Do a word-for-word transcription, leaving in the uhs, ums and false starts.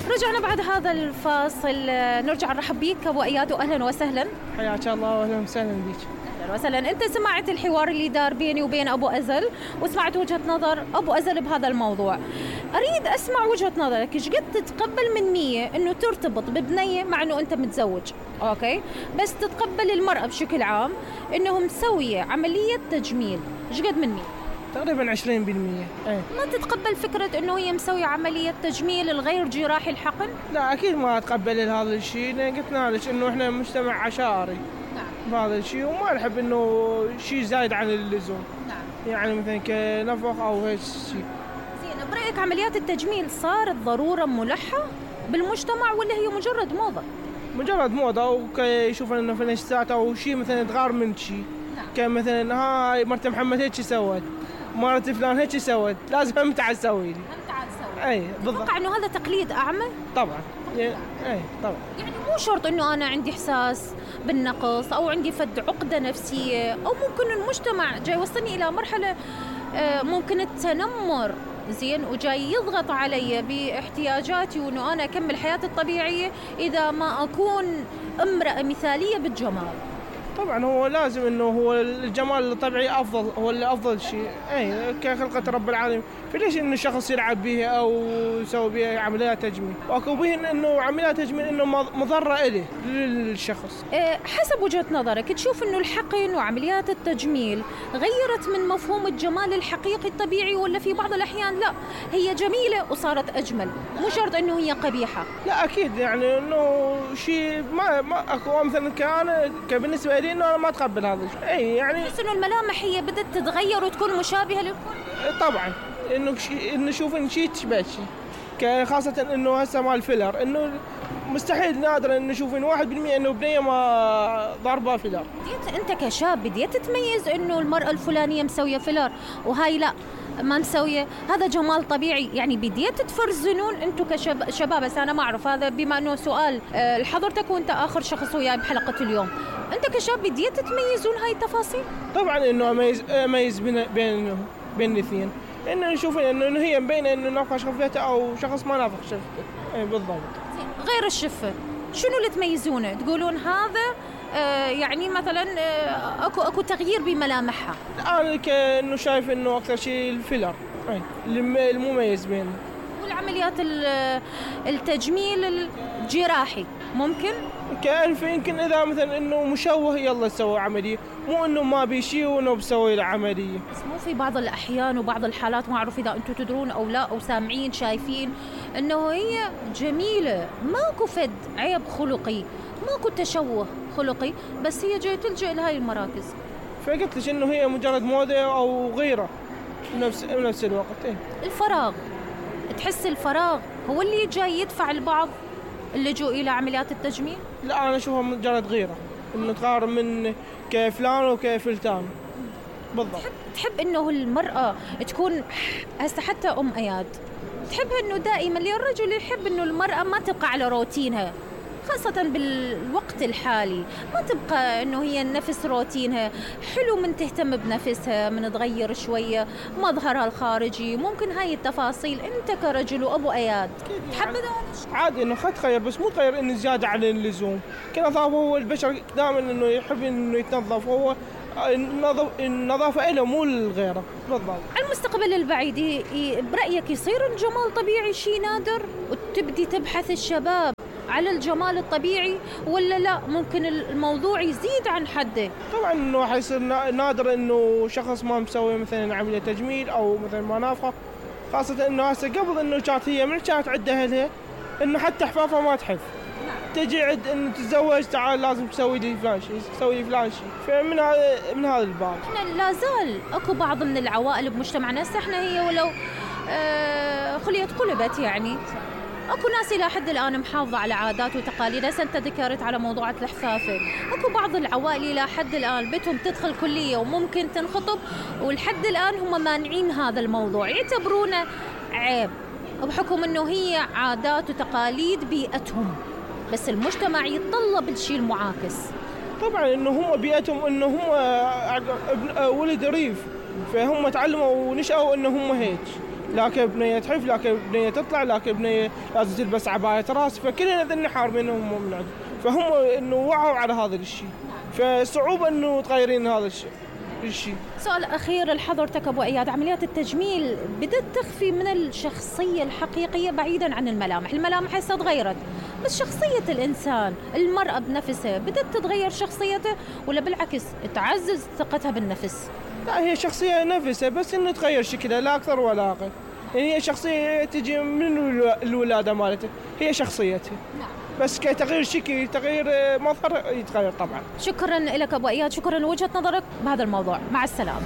رجعنا بعد هذا الفاصل، نرجع نرحب بيك ابو اياد واهلا وسهلا. حياك الله واهلا وسهلا بيك. اهلا وسهلا. انت سمعت الحوار اللي دار بيني وبين ابو ازل وسمعت وجهة نظر ابو ازل بهذا الموضوع. اريد اسمع وجهة نظرك، ايش قد تتقبل من مية انه ترتبط ببنية مع انه انت متزوج، اوكي، بس تتقبل المرأة بشكل عام انه مسوية عملية تجميل، ايش قد من مية؟ تقريبا عشرين بالمية. ايه. ما تتقبل فكرة انه هي مسوية عملية تجميل الغير جراحي الحقن؟ لا اكيد ما اتقبل هذا الشيء، قلنا لك انه احنا مجتمع عشائري. نعم. بهذا الشيء وما نحب انه شيء زايد عن اللزوم. نعم. يعني مثلا كنفخ او هيك شيء. زين، برأيك عمليات التجميل صارت ضرورة ملحة بالمجتمع ولا هي مجرد موضة؟ مجرد موضة، ويشوفون انه في نشاطات او شيء مثلا تغار من شيء. نعم. كمثلا هاي مرت محمد هيك سوت، مرت فلان هيك سوت، لازم هم تعال تسوي لي. هم تعال تسوي. اي بالضبط. اتوقع انه هذا تقليد اعمى؟ طبعا. اي طبعا. يعني مو شرط انه انا عندي احساس بالنقص او عندي فد عقدة نفسية، او ممكن المجتمع جاي يوصلني الى مرحلة ممكن التنمر، زين، وجاي يضغط علي باحتياجاتي وانه انا اكمل حياتي الطبيعية اذا ما اكون امرأة مثالية بالجمال. طبعا هو لازم انه هو الجمال الطبيعي افضل، هو اللي افضل شيء، اي كخلقة رب العالمين، فليش انه شخص يلعب به او يسوي به عمليات تجميل؟ واكو به انه عمليات تجميل انه مضرة إله للشخص. أه حسب وجهة نظرك تشوف انه الحقن وعمليات التجميل غيرت من مفهوم الجمال الحقيقي الطبيعي، ولا في بعض الاحيان لا هي جميلة وصارت اجمل، مو شرط انه هي قبيحة؟ لا اكيد يعني انه شيء ما ما اكو مثلا كان كبالنسبة لي انه انا ما اتقبل هذا الشيء. اي يعني بس انه الملامح هي بدت تتغير وتكون مشابهة للكل. طبعا انه شيء انه نشوف ان شيء تشبه شيء، خاصة انه هسه مال فيلر، انه مستحيل نادر ان نشوف ان واحد بالمية انه بنية ما ضربة فيلر. انت كشاب بديت تتميز انه المرأة الفلانية مسوية فيلر وهاي لا ما مسوية، هذا جمال طبيعي، يعني بديت تفرزنون انتم كشباب. بس انا ما اعرف هذا بما انه سؤال لحضرتك وانت اخر شخص وياي بحلقة اليوم، انت كشاب بديت تتميزون هاي التفاصيل؟ طبعا انه اميز اميز بين بين بين الاثنين، انه نشوف انه هي مبينه انه نافخ شفته او شخص ما نافخ شفته. اي بالضبط. غير الشفه شنو اللي تميزونه؟ تقولون هذا آه يعني مثلا آه اكو اكو تغيير بملامحها؟ انا كانه شايف انه اكثر شيء الفيلر اي المميز بينه. والعمليات التجميل الجراحي ممكن كألف يمكن اذا مثلا انه مشوه يلا تسوي عمليه، مو انه ما بيشي وانه بسوي له عمليه. بس مو في بعض الاحيان وبعض الحالات، ما اعرف اذا انتم تدرون او لا او سامعين شايفين، انه هي جميله ماكو فد عيب خلقي، ماكو تشوه خلقي، بس هي جايه تلجأ لهاي المراكز. فقلت لك انه هي مجرد موضه او غيره بنفس بنفس الوقت. ايه الفراغ، تحس الفراغ هو اللي جاي يدفع البعض اللجوء الى عمليات التجميل؟ لا انا اشوفها مجرد غيره، انه تقارن من كفلان وكفلتان. بالضبط. تحب تحب انه المراه تكون هسه حتى ام اياد تحب انه دائما الرجل يحب انه المراه ما تبقى على روتينها، خاصة بالوقت الحالي ما تبقى انه هي نفس روتينها، حلو من تهتم بنفسها، من تغير شوية مظهرها الخارجي، ممكن هاي التفاصيل انت كرجل وابو اياد تحب ذلك؟ عادي انه خد تغير، بس مو تغير انه زيادة عن اللزوم. كنظافة هو البشر دائما انه يحب انه يتنظف، هو النظافة له مو لغيره. بالضبط. على المستقبل البعيد برأيك يصير الجمال طبيعي شيء نادر وتبدي تبحث الشباب على الجمال الطبيعي، ولا لا ممكن الموضوع يزيد عن حده؟ طبعا انه حيصير نادر انه شخص ما مسوي مثلا عملية تجميل او مثلا ما نافخ، خاصة انه هسه قبل انه كانت هي من كانت عندها اهلها انه حتى حفافها ما تحف، تجي عد انه تتزوج تعال لازم تسوي لي فلان شيء، تسوي لي فلان شيء، فمن هذا من هذا الباب. احنا لا زال اكو بعض من العوائل بمجتمعنا، هسه احنا هي ولو آه خليت قلبت، يعني اكو ناس الى حد الان محافظه على عادات وتقاليد. هسه انت ذكرت على موضوع الحفافه، اكو بعض العوائل الى حد الان بتهم تدخل كليه وممكن تنخطب، والحد الان هم مانعين هذا الموضوع، يعتبرونه عيب بحكم انه هي عادات وتقاليد بيئتهم، بس المجتمع يتطلب الشيء المعاكس. طبعا انه هم بيئتهم انه هم ولد ريف، فهم تعلموا ونشأوا انه هم هيك، لكن بنيه تحف، لكن بنيه تطلع، لكن بنيه لازم تلبس عبايه راس، فكلنا ذني حارمينهم من عندهم، فهم انه وعوا على هذا الشيء، فصعوبه انه تغيرين هذا الشيء. الشيء. سؤال أخير لحضرتك أبو إياد، عمليات التجميل بدأت تخفي من الشخصية الحقيقية بعيداً عن الملامح، الملامح هسه تغيرت، بس شخصية الإنسان، المرأة بنفسها بدأت تتغير شخصيته ولا بالعكس تعزز ثقتها بالنفس؟ لا، هي شخصية نفسها بس إنه تغير شكلها لا أكثر ولا أقل، يعني هي شخصية تجي من الولادة مالتها، هي شخصيتها. نعم. بس كتغيير شكل تغيير مظهر يتغير طبعا. شكرا لك أبو إياد، شكرا لوجهة نظرك بهذا الموضوع، مع السلامة.